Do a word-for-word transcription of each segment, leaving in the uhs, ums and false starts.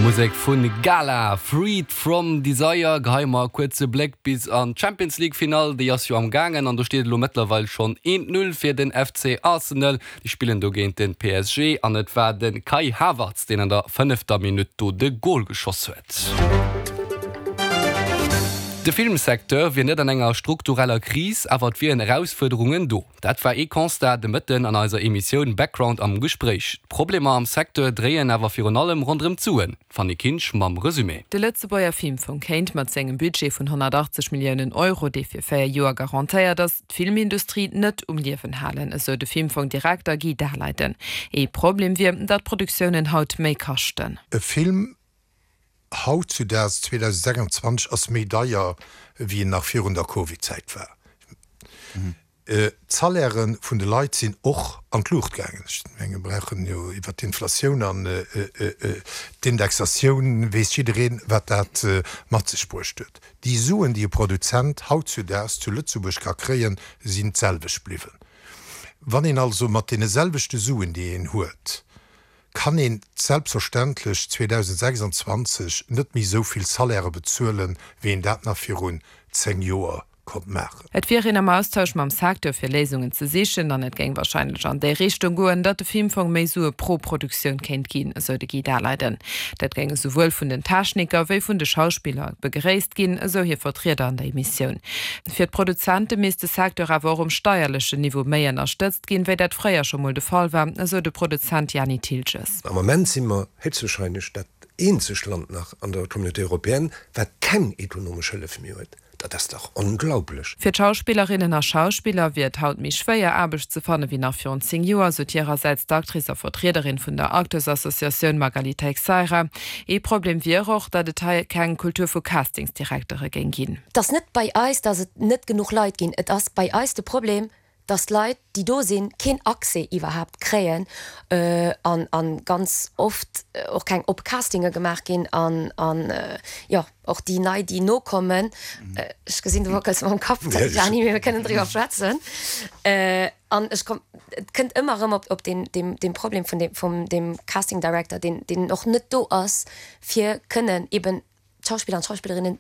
Musek vun Gala, Freed from Desire. Geheie mer e kuerze Bléck bis an d'Champions League Finall, déi ass jo am gaangen an do steet elo mëttlerweil schonn eent Null fir den F C Arsenal. Déi spillen do géint den P S G an et war de Kai Havertz, deen an der fënnefter Minutt do de Gol geschoss huet. De Filmsecteur wier net an enger struktureller Kris, awer et wieren Erausfuerderungen do. Dat war ee Constat de Mëtten an eiser Emissioun Background am Gespréich. D'Problemer am Secteur dréien awer virun allem ronderëm d'Suen. D'Fanny Kinsch mam Resumé. De Lëtzebuerger Filmfong kéint mat sengem Budget vun honnertachtzeg Milliounen Euro, dee fir véier Joer garantéiert ass, d'Filmindustrie net um Liewen halen, esou de Filmfong-Direkter Guy Daleiden. Ee Problem wier, datt Produktiounen haut méi kaschten. E Film hautzudaags zweedausendsechsundzwanzeg ass méi deier wéi en nach virun der Covid-Zäit war. D'Salairen vun de Leit sinn och an d'Luucht gaangen. Ech menge mir brauchen jo iwwer d'Inflatioun an d'Indexatioun weess jiddereen, wat dat mat sech bruecht huet. Déi Suen, déi e Produzent hautzudaags zu Lëtzebuerg ka kréien, sinn d'selwecht bliwwen. Wann een also mat deene selwechte Suen, déi een huet, kann een selbstverständlech zweedausendsechsundzwanzeg net méi esou vill Salairë bezuelen, wéi een dat nach virun zéng Joer konnt maachen. Et wier een am Austausch mam Secteur fir Léisungen ze sichen an et géing warscheinlech an déi Richtung goen, datt de Filmfong méi Sue pro Produktioun kéint ginn, esou de Guy Daleiden. Dat géing esouwuel vun den Techniker wéi vun de Schauspiller begréisst ginn, esou hir Vertrieder an der Emissioun. Fir d'Produzente misst de Secteur awer och um steierlechen Niveau méi ënnerstëtzt ginn, wéi dat fréier scho mol de Fall war, esou de Produzent Jani Thiltges. Am Ament si mer héchstwahrscheinlech dat eenzegt Land nach an der Communauté européenne, wat keng ekonomesch Hëllef méi huet. Dat ass dach onglaublech. Fir d'Schauspillerinnen a Schauspiller wier et haut méi schwéier, Aarbecht ze fanne wéi nach virun zéng Joer, sot hirersäits d'Actrice a Vertriederin vun der Acteurs-Associatioun Magali Teixeira. Ee Problem wier och, datt et hei keng Kultur vu Castingsdirektere géing ginn. Et ass net bei eis, datt et net genuch Leit ginn. Et ass bei eis de Problem, datt d'Leit, déi do sinn, keen Accès iwwerhaapt kréien an a ganz oft och keng oppe Castinge gemaach ginn an an jo och déi nei, déi nokommen, ech gesinn du wackels mam Kapp, Gianni, mee mir kënnen driwwer schwätzen. An ech komm, et kënnt ëmmer erëm op op deen deem deem Problem vun deem vum deem Casting Director, deen deen och net do ass, fir kënnen eben d'Schauspiller an d'Schauspillerinnen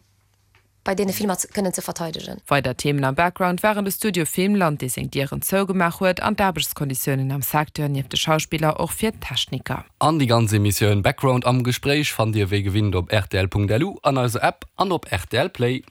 bei deene Filmer kënnen ze verteidegen. Weider Themen am Background waren de Studio Filmland, dee seng Dieren zougemaach huet, an d'Aarbechtskonditiounen am Secteur, nieft de Schauspiller och fir d'Techniker. An déi ganz Emissioun Background am Gespréich fannt Dir wéi gewinnt op rtl Punkt lu, an eiser App an op R T L Play.